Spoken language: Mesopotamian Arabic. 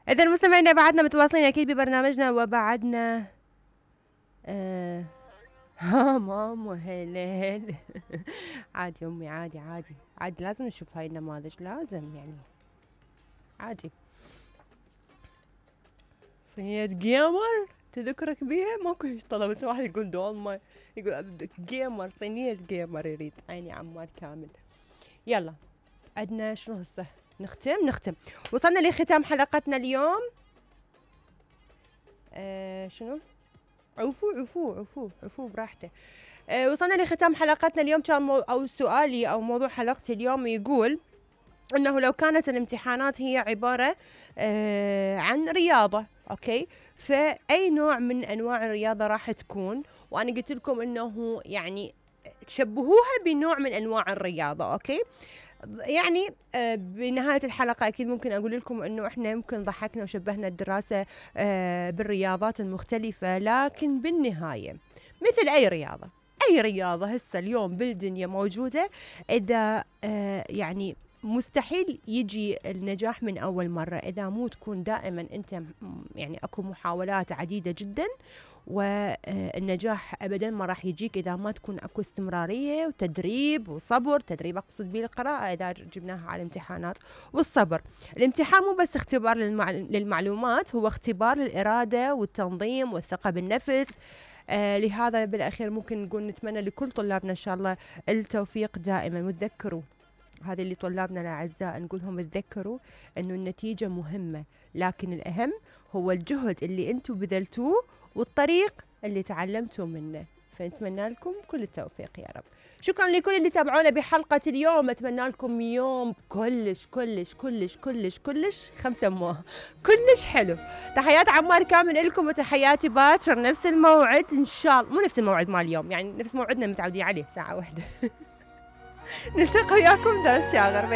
إذا المستمعين بعدنا متواصلين أكيد ببرنامجنا وبعدنا ماما هلال عادي أمي، عادي لازم نشوف هاي النماذج، لازم يعني عادي. صينية جيمر تذكرك بيها؟ ماكو هيك طلب، بس واحد يقول دولمة، يقول جيمر، صينية جيمر يريد. عيني عمار كامل. يلا عندنا شنو هسه؟ نختم. وصلنا لختام حلقتنا اليوم. شنو؟ عفو براحته. وصلنا لختام حلقتنا اليوم. كان أو سؤالي أو موضوع حلقتي اليوم يقول أنه لو كانت الامتحانات هي عبارة عن رياضة، أوكي، فأي نوع من أنواع الرياضة راح تكون؟ وأنا قلت لكم أنه يعني تشبهوها بنوع من أنواع الرياضة، أوكي. يعني بنهاية الحلقة أكيد ممكن أقول لكم أنه إحنا ممكن ضحكنا وشبهنا الدراسة بالرياضات المختلفة، لكن بالنهاية مثل أي رياضة هسه اليوم بالدنيا موجودة، إذا يعني مستحيل يجي النجاح من أول مرة إذا مو تكون دائما أنت يعني أكو محاولات عديدة جدا، والنجاح أبدا ما راح يجيك إذا ما تكون أكو استمرارية وتدريب وصبر. تدريب أقصد به القراءة إذا جبناها على الامتحانات، والصبر. الامتحان مو بس اختبار للمعلومات، هو اختبار للإرادة والتنظيم والثقة بالنفس. لهذا بالأخير ممكن نقول نتمنى لكل طلابنا إن شاء الله التوفيق دائما. وتذكروا هذه اللي طلابنا الأعزاء نقولهم تذكروا أنه النتيجة مهمة، لكن الأهم هو الجهد اللي أنتم بذلتوه والطريق اللي تعلمتوا منه. فنتمنى لكم كل التوفيق يا رب. شكرا لكل اللي تابعونا بحلقة اليوم. أتمنى لكم يوم كلش 5 أمواه كلش حلو. تحيات عمار كامل لكم، وتحياتي باكر نفس الموعد إن شاء الله، مو نفس الموعد مال اليوم، يعني نفس موعدنا متعودين عليه 1 ساعة. نلتقي وياكم درس شاغر.